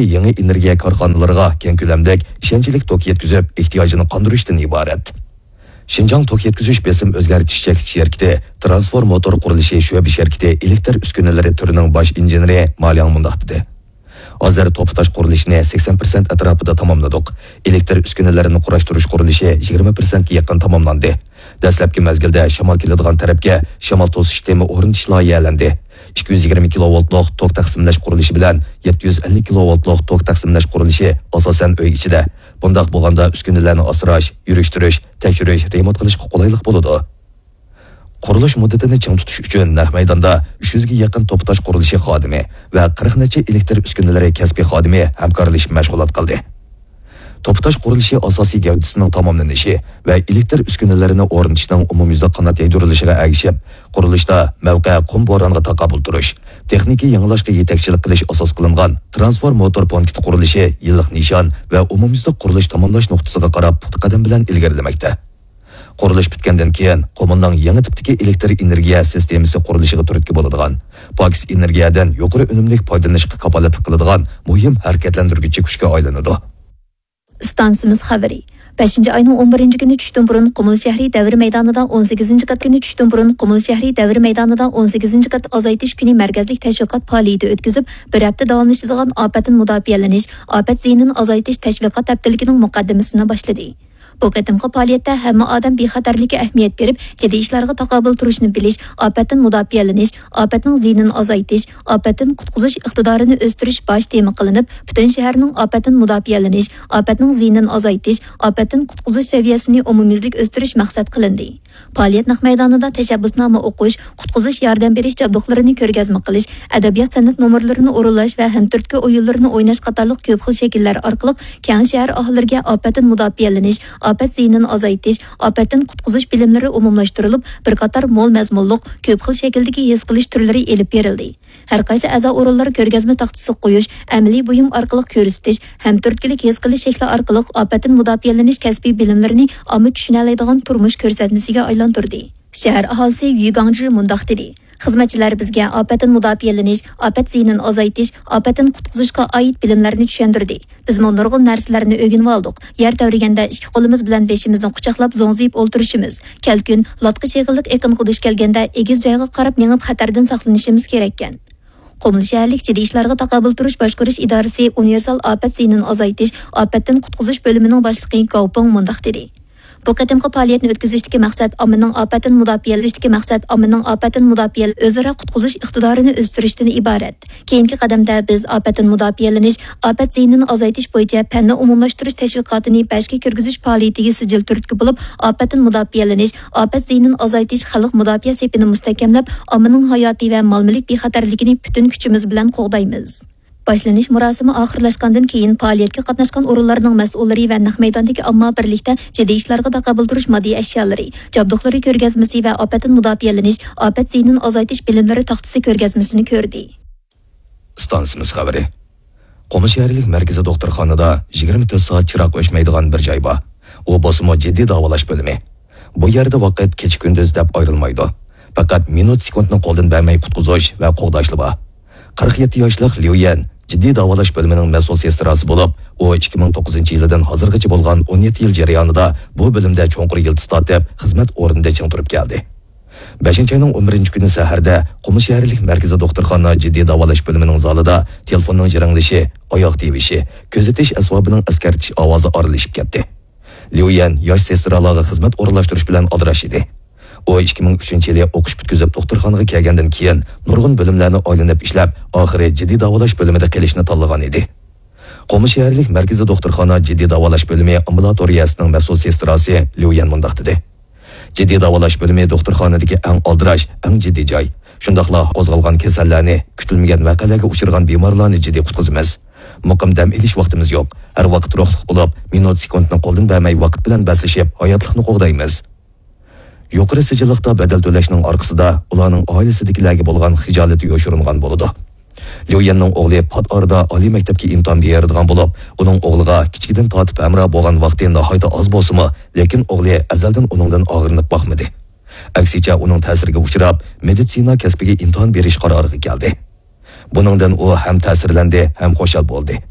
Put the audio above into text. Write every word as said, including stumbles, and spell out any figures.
يېڭى ئېنېرگىيە كارخانىلىرىغا كەڭ كۆلەملىك، ئىشەنچلىك توك يەتكۈزۈپ، ئېھتىياجىنى قاندۇرۇشتىن ئىبارەت. شىنجاڭ توك يەتكۈزۈش بېسىم ئۆزگەرتىش چەكلىك شىركىتى ترانسفورماتور قۇرۇلۇشى شۆبە شىركىتى ئېلېكتر ئۈسكۈنىلىرى تۈرىنىڭ باش ئىنژېنېرى ما لياڭ مۇنداق دېدى: ھازىر توپا تاش قۇرۇلۇشىنى سەكسەن پىرسەنت ئەتراپىدا تاماملىدۇق. ئېلېكتر ئۈسكۈنىلىرىنى قۇراشتۇرۇش قۇرۇلۇشى يىگىرمە پىرسەنتكە يېقىن تاماملاندى. دەسلەپكى مەزگىلدە شامال كېلىدىغان تەرەپكە شامال توسۇش تېمى ئورنىتىش لايىھەلەندى. ئىككى يۈز يىگىرمە كىلوۋولتلۇق توك تەقسىملەش قۇرۇلۇشى بىلەن يەتتە يۈز ئەللىك كىلوۋولتلۇق توك تەقسىملەش قۇرۇلۇشى ئاساسەن ئۆي ئىچىدە. بۇنداق بولغاندا ئۈسكۈنىلەرنى ئاسراش، يۈرۈشتۈرۈش، تەكشۈرۈش، رېمونت قىلىشقا قولايلىق بولىدۇ. قۇرۇلۇش مۇددىتىنى چىڭ تۇتۇش ئۈچۈن نەق مەيداندا ئۈچ يۈزگە يېقىن توپا تاش قۇرۇلۇشى خادىمى ۋە قىرىق نەچچە ئېلېكتر ئۈسكۈنىلىرى كەسپىي خادىمى ھەمكارلىشىپ مەشغۇلات قىلدى. توپا تاش قۇرۇلۇشى ئاساسىي گەۋدىسىنىڭ تاماملىنىشى ۋە ئېلېكتر ئۈسكۈنىلىرىنى ئورنىتىشنىڭ ئومۇميۈزلۈك قانات يايدۇرۇلۇشىغا ئەگىشىپ، قۇرۇلۇشتا مەۋقە قۇم بورانغا تاقابىل تۇرۇش، تېخنىكا يېڭىلاشقا يېتەكچىلىك قىلىش ئاساس قىلىنغان ترانسفورماتور پونكىتى قۇرۇلۇشى يىللىق نىشان ۋە ئومۇميۈزلۈك قۇرۇلۇش تاماملاش نۇقتىسىغا قاراپ پۇختا قەدەم بىلەن ئىلگىرىلىمەكتە. قۇرۇلۇش پۈتكەندىن كېيىن، قۇمۇلنىڭ يېڭى تىپتىكى ئېلېكتر ئېنېرگىيە سىستېمىسى قۇرۇلۇشىغا تۈرتكە بولىدىغان، پاكىز ئېنېرگىيەدىن يۇقىرى ئۈنۈملۈك پايدىلىنىشقا كاپالەتلىك قىلىدىغان مۇھىم ھەرىكەتلەندۈرگۈچى كۈچكە ئايلىنىدۇ. ئىستانسىمىز خەۋىرى. بەشىنچى ئاينىڭ ئون بىرىنچى كۈنى چۈشتىن بۇرۇن قۇمۇل شەھىرى دەۋر مەيدانىدا ئون سەككىزىنچى قات كۈنى چۈشتىن بۇرۇن قۇمۇل شەھىرى دەۋر مەيدانىدا ئون سەككىزىنچى قات ئازايتىش كۈنى مەركەزلىك تەشۋىقات پائالىيىتى ئۆتكۈزۈپ، بىر ھەپتە داۋاملىشىدىغان ئاپەتتىن مۇداپىئەلىنىش، ئاپەت زىيىنىنى ئازايتىش تەشۋىقات ھەپتىلىكىنىڭ مۇقەددىمىسىنى باشلىدى. بۇ قېتىمقى پائالىيەتتە ھەممە ئادەم بىخەتەرلىككە ئەھمىيەت بېرىپ، جىددىي ئىشلارغا تاقابىل تۇرۇشنى بىلىش، ئاپەتتىن مۇداپىئەلىنىش، ئاپەتنىڭ زىيىنىنى ئازايتىش، ئاپەتتىن قۇتقۇزۇش ئىقتىدارىنى ئۆستۈرۈش باش تېما قىلىنىپ، پۈتۈن شەھەرنىڭ ئاپەتتىن مۇداپىئەلىنىش، ئاپەتنىڭ زىيىنىنى ئازايتىش، ئاپەتتىن قۇتقۇزۇش سەۋىيەسىنى ئومۇميۈزلۈك ئۆستۈرۈش مەقسەت قىلىندى. پائالىيەت نەق مەيدانىدا تەشەببۇسنامە ئوقۇش، قۇتقۇزۇش ياردەم بېرىش جابدۇقلىرىنى كۆرگەزمە قىلىش، ئەدەبىيات سەنئەت نومۇرلىرىنى ئورۇنلاش ۋە ھەمتۈرتكە ئويۇنلىرىنى ئويناش قاتارلىق كۆپ خىل شەكىللەر ئارقىلىق كەڭ شەھەر ئاھالىلىرىگە ئاپەتتىن مۇداپىئەلىنىش، ئاپەت زىيىنىنى ئازايتىش، ئاپەتتىن قۇتقۇزۇش بىلىملىرى ئومۇملاشتۇرۇلۇپ، بىر قاتار مول مەزمۇنلۇق، كۆپ خىل شەكىلدىكى ھېس قىلىش تۈرلىرى ئېلىپ بېرىلدى. ھەر قايسى ئەزا ئورۇنلار كۆرگەزمە تاختىسىغا قويۇش، ئەمەلىي بۇيۇم ئارقىلىق كۆرسىتىش، ھەمتۈرتكىلىك ھېس قىلىش شەكلى ئارقىلىق ئاپەتتىن مۇداپىئەلىنىش كەسپىي بىلىملىرىنى ئامما چۈشىنەلەيدىغان تۇرمۇش كۆرسەتمىسىگە ئايلاندۇردى. شەھەر ئاھالىسى يۈ گاڭجى مۇنداق دېدى: خىزمەتچىلەر بىزگە ئاپەتتىن مۇداپىئەلىنىش، ئاپەت زىيىنىنى ئازايتىش، ئاپەتتىن قۇتقۇزۇشقا ئائىت بىلىملەرنى چۈشەندۈردى. بىزمۇ نۇرغۇن نەرسىلەرنى ئۆگىنىۋالدۇق. يەر تەۋرىگەندە ئىككى قولىمىز بىلەن بېشىمىزنى قۇچاقلاپ زوڭزىيىپ ئولتۇرۇشىمىز، كەلكۈن، لاتقا چېغىلىق ئېقىنغا دۇچ كەلگەندە ئېگىز جايغا قاراپ مېڭىپ خەتەردىن ساقلىنىشىمىز كېرەككەن. قۇمۇل شەھەرلىك جىددىي ئىشلارغا تاقابىل تۇرۇش باشقۇرۇش ئىدارىسى ئۇنىۋېرسال ئاپەت زىيىنىنى ئازايتىش، ئاپەتتىن قۇتقۇزۇش بۆلۈمىنىڭ باشلىقى گاۋ پېڭ مۇنداق دېدى: بۇ قېتىمقى پائالىيەتنى ئۆتكۈزۈشتىكى مەقسەت ئاممىنىڭ ئاپەتتىن مۇداپىئەلىنىشتىكى مەقسەت ئاممىنىڭ ئاپەتتىن مۇداپىئە ئۆزئارا قۇتقۇزۇش ئىقتىدارىنى ئۆستۈرۈشتىن ئىبارەت. كېيىنكى قەدەمدە بىز ئاپەتتىن مۇداپىئەلىنىش، ئاپەت زىيىنىنى ئازايتىش بويىچە پەننى ئومۇملاشتۇرۇش تەشۋىقاتىنى بەشكە كىرگۈزۈش پائالىيىتىگە سىجىل تۈرتكە بولۇپ، ئاپەتتىن مۇداپىئەلىنىش، ئاپەت زىيىنىنى ئازايتىش خەلق مۇداپىئە سېپىنى مۇستەھكەملەپ، ئاممىنىڭ ھاياتى ۋە مال-مۈلۈك بىخەتەرلىكىنى پۈتۈن كۈچىمىز بىلەن قوغدايمىز. باشلىنىش مۇراسىمى ئاخىرلاشقاندىن كېيىن، پائالىيەتكە قاتناشقان ئورۇنلارنىڭ مەسئۇللىرى ۋە نەق مەيداندىكى ئامما بىرلىكتە جىددىي ئىشلارغا تاقابىل تۇرۇش ماددىي ئەشيالىرى، جابدۇقلىرى كۆرگەزمىسى ۋە ئاپەتتىن مۇداپىئەلىنىش، ئاپەت زىيىنىنى ئازايتىش بىلىملىرى تاختىسى كۆرگەزمىسىنى كۆردى. ئىستانسىمىز خەۋىرى. قۇمۇل شەھەرلىك مەركىزىي دوختۇرخانىدا يىگىرمە تۆت سائەت چىراغ ئۆچمەيدىغان بىر جاي بار. ئۇ بولسىمۇ جىددىي داۋالاش بۆلۈمى. بۇ يەردە ۋاقىت كېچە-كۈندۈز دەپ ئايرىلمايدۇ. پەقەت مىنۇت سېكۇنتنى قولدىن بەرمەي قۇتقۇزۇش ۋە قوغداشلا بار. قىرىق يەتتە ياشلىق ليۇ يەن جىددىي داۋالاش بۆلۈمىنىڭ مەسئۇل سېستراسى بولۇپ، ئۇ ئىككى مىڭ توققۇزىنچى يىلىدىن ھازىرغىچە بولغان ئون يەتتە يىل جەريانىدا بۇ بۆلۈمدە چوڭقۇر يىلتىز تارتىپ، خىزمەت ئورنىدا چىڭ تۇرۇپ كەلدى. بەشىنچى ئاينىڭ ئون بىرىنچى كۈنى سەھەردە قۇمۇل شەھەرلىك مەركىزىي دوختۇرخانا جىددىي داۋالاش بۆلۈمىنىڭ زالىدا تېلېفوننىڭ جىرىڭلىشى، ئاياغ تىۋىشى، كۆزىتىش ئەسۋابىنىڭ ئەسكەرتىش ئاۋازى ئارىلىشىپ كەتتى. ليۇ يەن ياش سېسترالارغا خىزمەت ئورۇنلاشتۇرۇش بىلەن ئالدىراش ئىدى. ئۇ ئىككى مىڭ ئۈچىنچى يىلى ئوقۇش پۈتكۈزۈپ دوختۇرخانىغا كەلگەندىن كېيىن نۇرغۇن بۆلۈملەرنى ئايلىنىپ ئىشلەپ، ئاخىرى جىددىي داۋالاش بۆلۈمىدە قېلىشنى تاللىغان ئىدى. قۇمۇل شەھەرلىك مەركىزىي دوختۇرخانا جىددىي داۋالاش بۆلۈمى ئامبۇلاتورىيەسىنىڭ مەسئۇل سېستراسى ليۇ يەن مۇنداق دېدى: جىددىي داۋالاش بۆلۈمى دوختۇرخانىدىكى ئەڭ ئالدىراش، ئەڭ جىددىي جاي. شۇنداقلا قوزغالغان كېسەللەرنى، كۈتۈلمىگەن ۋەقەلەرگە ئۇچرىغان بىمارلارنى جىددىي قۇتقۇزىمىز. مۇقىم دەم ئېلىش ۋاقتىمىز يوق. ھەر ۋاقىت روھلۇق بولۇپ، مىنۇت سېكۇنتنى قولدىن بەرمەي ۋاقىت بىلەن بەسلىشىپ، ھاياتلىقنى قوغدايمىز. يۇقىرى سىجىللىقتا بەدەل تۆلەشنىڭ ئارقىسىدا ئۇلارنىڭ ئائىلىسىدىكىلەرگە بولغان خىجالىتى يوشۇرۇنغان بولىدۇ. ليۇ يەننىڭ ئوغلى پات ئارىدا ئالىي مەكتەپكە ئىمتىھان بېرىدىغان بولۇپ، ئۇنىڭ ئوغلىغا كىچىكىدىن تارتىپ ھەمراھ بولغان ۋاقتى ناھايىتى ئاز بولسىمۇ، لېكىن ئوغلى ئەزەلدىن ئۇنىڭدىن ئاغرىنىپ باقمىدى. ئەكسىچە، ئۇنىڭ تەسىرىگە ئۇچراپ، مېدىتسىنا كەسپىگە ئىمتىھان بېرىش قارارىغا كەلدى. بۇنىڭدىن ئۇ ھەم تەسىرلەندى، ھەم خۇشال بولدى.